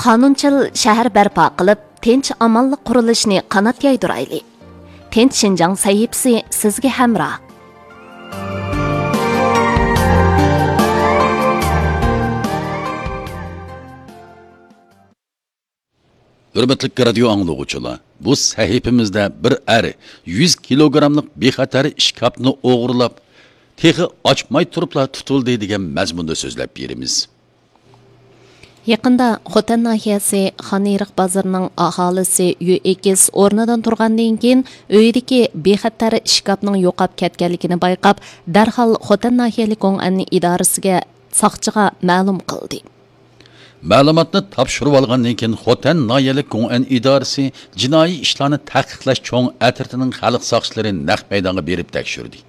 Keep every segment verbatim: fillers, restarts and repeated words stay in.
قانۇنچىل شەھەر بەرپا قىلىپ، تىنچ-ئامانلىق قۇرۇلۇشىنى قانات يايدۇرايلى. تىنچ شىنجاڭ سەھىپىسى سىزگە ھەمراھ. ھۆرمەتلىك رادىيو ئاڭلىغۇچىلار، بۇ سەھىپىمىزدە بىر ئەر يۈز كىلوگراملىق بىخەتەر ئىشكاپنى ئوغرىلاپ، تېخى ئاچماي تۇرۇپلا تۇتۇلدى دېگەن مەزمۇندا سۆزلەپ بېرىمىز. يېقىندا خوتەن ناھىيەسى خانئېرىق بازىرىنىڭ ئاھالىسى يۈ ئېكس ئورنىدىن تۇرغاندىن كېيىن، ئۆيىدىكى بىخەتەر ئىشكاپنىڭ يوقاپ كەتكەنلىكىنى بايقاپ، دەرھال خوتەن ناھىيەلىك گوڭئەن ئىدارىسىگە، ساقچىغا مەلۇم قىلدى. مەلۇماتنى تاپشۇرۇۋالغاندىن كېيىن، خوتەن ناھىيەلىك گوڭئەن ئىدارىسى جىنايى ئىشلارنى تەھقىقلەش چوڭ ئەترىتىنىڭ خەلق ساقچىلىرى نەق مەيدانغا بېرىپ تەكشۈردى.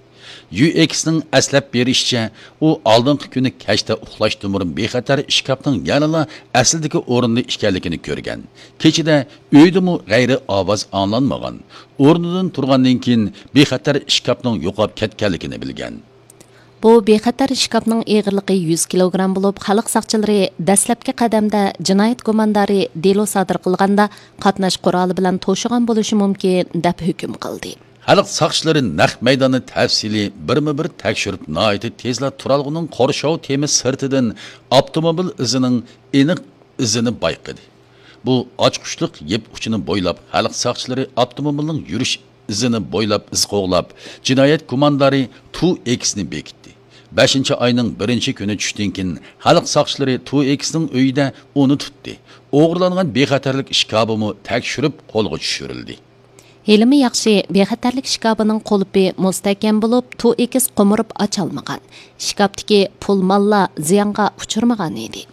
يۈ ئېكسنىڭ ئەسلەپ بېرىشىچە، ئۇ ئالدىنقى كۈنى كەچتە ئۇخلاشتىن بۇرۇن بىخەتەر ئىشكاپنىڭ يەنىلا ئەسلىدىكى ئورنىدا ئىكەنلىكىنى كۆرگەن. كېچىدە ئۆيدىمۇ غەيرىي ئاۋاز ئاڭلانمىغان. ئورنىدىن تۇرغاندىن كېيىن، بىخەتەر ئىشكاپنىڭ يوقاپ كەتكەنلىكىنى بىلگەن. بۇ بىخەتەر ئىشكاپنىڭ ئېغىرلىقى يۈز كىلوگرام بولۇپ، خەلق ساقچىلىرى دەسلەپكى قەدەمدە جىنايەت گۇماندارى دېلو سادىر قىلغاندا قاتناش قورالى بىلەن توشۇغان بولۇشى مۇمكىن، دەپ ھۆكۈم قىلدى. خەلق ساقچىلىرى نەق مەيداننى تەپسىلىي بىرمۇ بىر تەكشۈرۈپ، ناھايىتى تېزلا تۇرالغۇنىڭ قورشاۋ تېمى سىرتىدىن ئاپتوموبىل ئىزىنىڭ ئېنىق ئىزىنى بايقىدى. بۇ ئاچقۇچلۇق يىپ ئۇچىنى بويلاپ، خەلق ساقچىلىرى ئاپتوموبىلنىڭ يۈرۈش ئىزىنى بويلاپ ئىز قوغلاپ، جىنايەت گۇماندارى تۇ ئېكسنى بېكىتتى. بەشىنچى ئاينىڭ بىرىنچى كۈنى چۈشتىن كېيىن، خەلق ساقچىلىرى تۇ ئېكسنىڭ ئۆيىدە ئۇنى تۇتتى. ئوغرىلانغان بىخەتەرلىك ئىشكاپىمۇ تەكشۈرۈپ قولغا چۈشۈرۈلدى. ھېلىمۇ ياخشى، بىخەتەرلىك ئىشكاپىنىڭ قۇلۇپى مۇستەھكەم بولۇپ، تۇ ئېكس قومۇرۇپ ئاچالمىغان. ئىشكاپتىكى پۇل ماللار زىيانغا ئۇچرىمىغان ئىدى.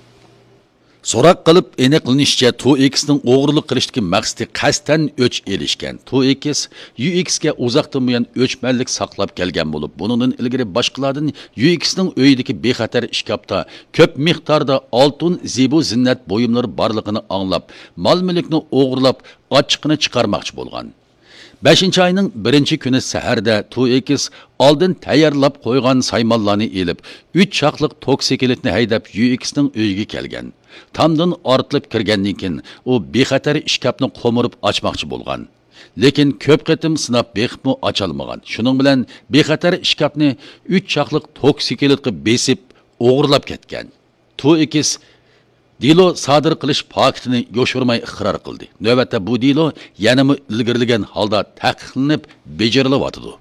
سوراق قىلىپ ئېنىقلىنىشىچە، تۇ ئېكسنىڭ ئوغرىلىق قىلىشتىكى مەقسىتى قەستەن ئۆچ ئېلىشكەن. تۇ ئېكس يۈ ئېكسكە ئۇزاقتىن بۇيان ئۆچمەنلىك ساقلاپ كەلگەن بولۇپ، بۇنىڭدىن ئىلگىرى باشقىلاردىن يۈ ئېكسنىڭ ئۆيىدىكى بىخەتەر ئىشكاپتا كۆپ مىقداردا ئالتۇن، زىبۇ زىننەت بۇيۇملىرى بارلىقىنى ئاڭلاپ، مال مۈلۈكنى ئوغرىلاپ، ئاچچىقىنى چىقارماقچى بولغان. بەشىنچى ئاينىڭ بىرىنچى كۈنى سەھەردە تۇ ئېكس ئالدىن تەييارلاپ قويغان سايمانلارنى ئېلىپ، ئۈچ چاقلىق توكسىكلىتنى ھەيدەپ، يۈ ئېكسنىڭ ئۆيىگە كەلگەن. تامدىن ئارتىلىپ كىرگەندىن كېيىن، ئۇ بىخەتەر ئىشكاپنى قومۇرۇپ ئاچماقچى بولغان. لېكىن كۆپ قېتىم سىناپ بېقىپمۇ ئاچالمىغان. شۇنىڭ بىلەن بىخەتەر ئىشكاپنى ئۈچ چاقلىق توكسىكلىتقا بېسىپ، ئوغرىلاپ كەتكەن. تۇ ئېكس دېلو سادىر قىلىش پاكىتىنى يوشۇرماي ئىقرار قىلدى. نۆۋەتتە بۇ دېلو يەنىمۇ ئىلگىرىلىگەن ھالدا تەھقىقلىنىپ بېجىرىلىۋاتىدۇ.